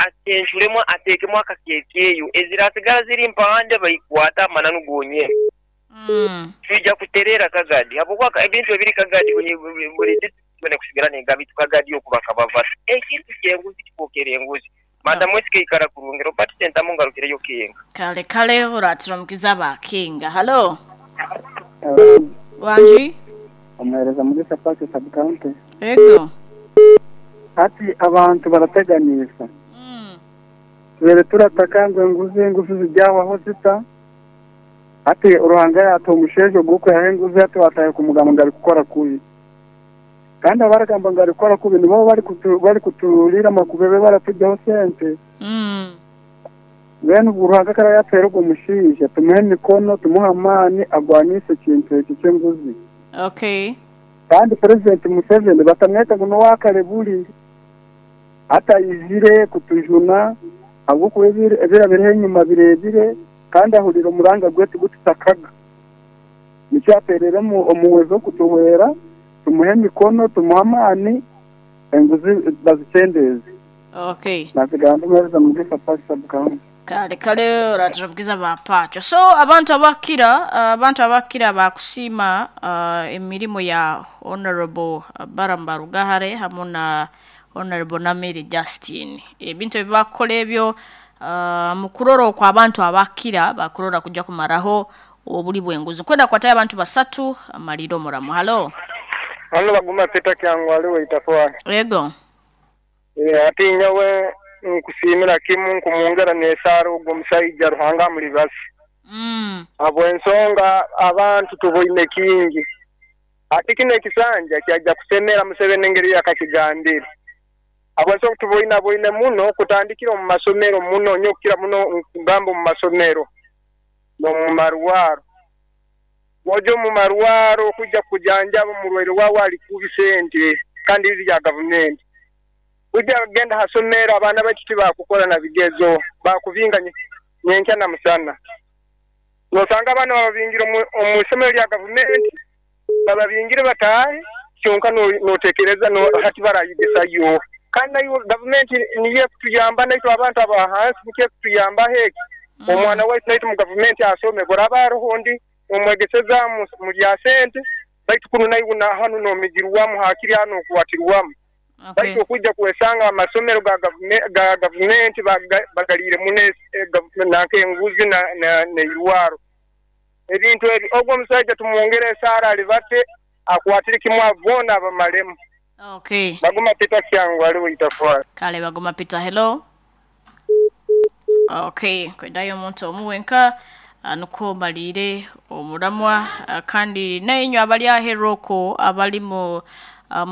Acenculemu ateekemu akakeekeeyo, ezirasigara ziri mpande baikwate amananu gonyene. Twija kutereera Kagadi habwokuba ebintu ebiri Kagadi buli disiturikiti yoona ekusigara negamba itwe Kagadi oku bakababata. Ekintu ky'enguzi kifookere enguzi. Madam SK ikara kurungi. Robert Sentamu ngarukireyo Kenga. Kale kale oratira omukiza aba Kenga. Halo. Wangi. Omuheereza Mugisha Park Sub County. Ego. Hati abantu barateganiisa. Tubaire turataka ngu enguzi enguzi zigyahwaho zita? Hati Ruhanga yaatuha omushaija ogu okwihaho enguzi hati waatandika kumugamba ngu arikukora kubi. Kandi abarikugamba ngu arikukora kubi nibo barikuturiira amakubebe baratugyaho sente. Mbwenu obwo Ruhanga ku araabe yaatuhaire ogwo mushaija tumuhe emikono, tumuhe amaani agwaniise ekintu ekyo ky'enguzi. Okay. Kandi Purezidenti Museveni batamweta ngu n'owakare buri. Hati aizire kutujuna ahabw'okuba ebirabireho enyima bireebire kandi ahuriire omuranga gwaitu gu tutakaga. Nikyo ateereire omuhwezi w'okutuhwera, tumuhe emikono, tumuhe amaani, enguzi bazikyendeeze. Okay. Nasigara ndi muheereza Mugisha Park Sub County. Kale kale oratira obugiza ba pacho. So abantu abakira abantu abakira bakusiima emirimo ya Honorable Balaam Barugahare hamu na Honorable Namere Justine. Ebintu ebi bakukora ebyo mukurora okwo abantu abakira bakurora kuja kumaraho obuli bw'enguzi. Nkwenda kukwatayo abantu basatu amalire omuramu. Halo. Hano Baguma Peter Kyangwali Waitafwali. Ego. Ati nyowe nkusiimira kimu nkumwongera n'esaara ogwo omusaija Ruhanga amulibase. Habw'ensonga abantu tuboine kingi. Ati kinu ekisanja kyaija kusemera Museveni engeri yakakigambire. Habw'ensonga tuboinaboine muno kutandikira omu masomero muno nyowe kukira muno nkugamba omu masomero n'omu marwaro. Bw'oja omu marwaro kwija kujanjaba omurwaire waawe ali kubi sente kandi riri rya gavumenti. Kwija kugenda ha somero abaana baitu tibakukora na bigezo bakubinga nyenkya na musana. Nosanga abaana bababingire omu isomero lya gavumenti bababingire bataahe kyonka notekereza hati barayegesayo. Kandi naiwe gavumenti niyo ekutuyamba naitwe abantu aba hansi nikyo ekutuyambaho eki. Omwana waitu naitwe mu gavumenti asome bwaraba haroho ondi omwegeseza mu lya sente baitu kunu naiwe na hanu nomigirwamu hakiri hanu nokwatirwamu. Baitu okwija kwesanga amasomero ga gavumenti bagaliire muno nanka enguzi n'eirwaro. Ebintu ebi ogwo omusaija tumwongere esaara alibate akwatire kimu abo boona abamalemu. Okay. Baguma Peter Kyangwali Waitafwali. Kale Baguma Peter hello. Okay, kwedayo omuntu omu wenka nukwo omaliire omuramwa kandi nainywe abali aheeru okwo abali mu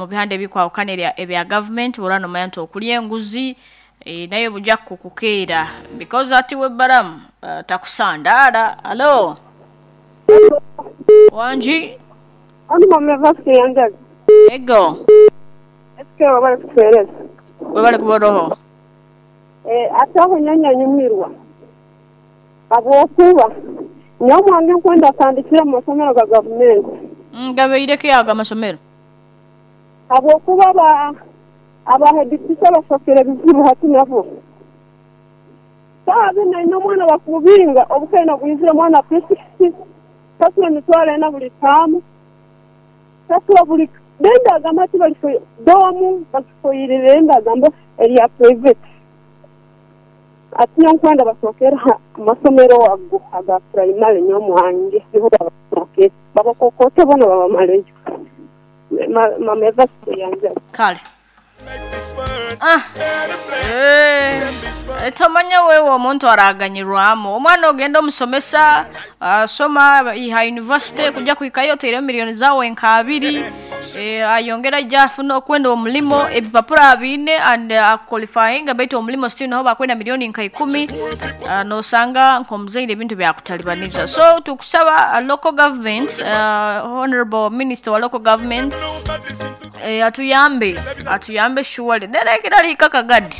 bihanda ebikwahukana ebya gavumenti bw'oraba nomanya nti okulya enguzi nayo buja kukukeera because ati we Balamu takusandaara. Halo. Wangi. Hano mama Evasite Yanjaga. Ego. SK webale kutuwereza. Webale kuba oroho. Ate aho nyanya nyumirwa habwokuba nyowe omwange nkwenda atandikire omu masomero ga gavumenti. Gabaire ki ago amasomero? Habwokuba aba headteacher bafokere bizibu hati nabo. Saaha zinu aine omwana bakumubinga obukaina bwizire omwana P6 sasula emitwaro ena buli taamu sasula buli bendagamba hati bali doomu bagifoirire endagamba erya private. Ati nyowe nkwenda basookere aha masomero ago aga purayimale nyowe mwange niho babasookere babakokote boona babamaleyo. Mama Evasite yanjaga. Kale. Ah. Eh, tomanya wewe omuntu araganyirwamu omwana ogenda omusomesa asoma iha university kuja kuhikayo oteiremu milioni zawe nka abiri ayongera aija afuna okwenda omulimo ebipapura abiine and aqualifyinga baitu omulimo still naho bakwenda milioni nka ikumi nosanga nk'omuzaire ebintu byakutalibaniza. So tukusaba local government honorable minister wa local government atuyambe atuyambe surely nera ekiraliika kagadi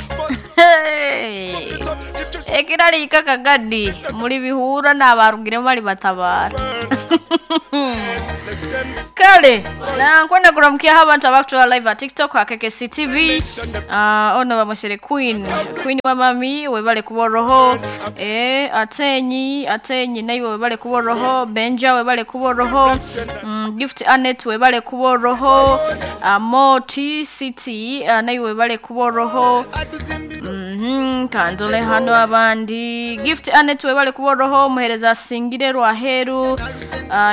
ekiraliika kagadi muli bihura n'abarugiremu bali batabaara. Kale na nkwenda kuramukyaho abantu abakutwara live at TikTok akeke TV. Ono bamusere Queen Queen wa mami webale kuboroho, atenyi atenyi naiwe webale kuboroho, Benja webale kuboroho, Gift Anet webale kuboroho, Moti City naiwe webale kuboroho. Kandole hano abandi Gift Anet webale kuboroho, muhereza asingire Rwaheru,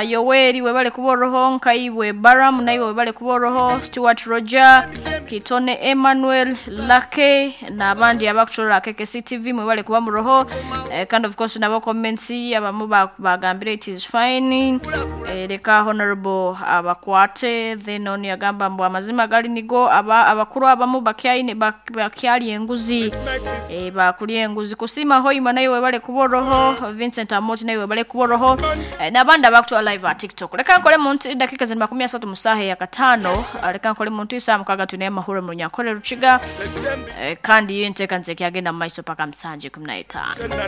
Yoweri webale kuboroho, Nkaibwe Baram naiwe webale kuboroho, Stuart Roger Kitone Emmanuel Lake n'abandi abakushorera KKC TV mwebale kuba muroho. Kandi of course nabo comments abamu bagambire it is fine. Leka honorable abakwate. Then oni yagamba mbu amazima gali nigo abakuru abamu bakyaine bakyali enguzi, bakulya enguzi. Kusima hoima naye webale kuboroho, Vincent Amoti naye webale kuboroho, n'abandi abakutwala live at TikTok. Leka nkole muntu dakika zina 30 mu saha ya 5. Leka nkole muntu isaha 6 tune amahoro mu Nyankole Rukiga, kandi iyo nteeka nze kyagenda mu maiso paka 7:15.